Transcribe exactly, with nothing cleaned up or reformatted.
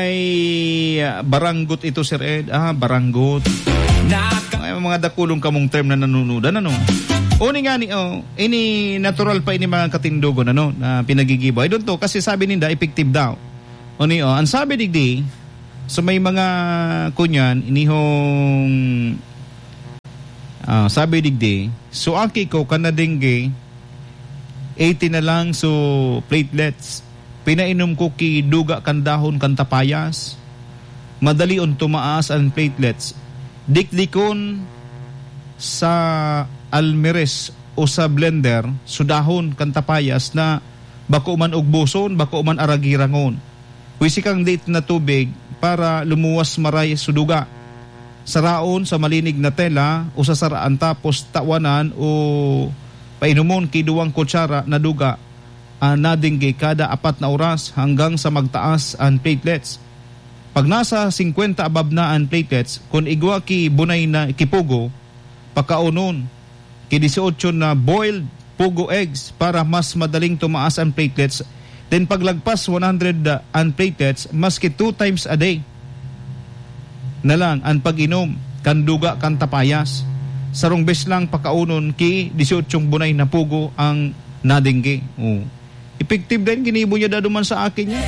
Ay, ah, baranggot ito, Sir Ed. Ah, baranggot. Ay, mga dakulong kamong term na nanunudan, ano? Uni nga ni, oh, ini natural pa ini mga katindogon, ano, na pinagigibo. I don't know, kasi sabi ninda, effective daw. Uni, oh, ang sabi digdi, so may mga kunyan, inihong, ah, sabi digdi, so aki ko, kan na-dengue, eighty na lang, so platelets. Pinainom ko ki duga kan dahon kan tapayas. Madalion tumaas an platelets. Dikdikon sa almeres o sa blender, so dahon kan tapayas na bako man ugboson, bako man aragirangon. Wisik ang date na tubig para lumuwas maray so duga. Saraon sa malinig na tela o sa saraan, tapos tawanan o painomon ki duwang kutsara na duga an na-dengue kada apat na oras hanggang sa magtaas an platelets. Pag nasa singkwenta above na an platelets, kun igwa ki bunay na ki pugo, pakaunon ki dieciocho na boiled pugo eggs para mas madaling tumaas an platelets. Then paglagpas one hundred an platelets, maski two times a day na lang an pag-inom kan duga kan tapayas. Sarong bes lang pakaunon ki dieciocho bunay na pugo ang na-dengue. Oh. Epektibo din, ginibo niya dado man sa akin niya.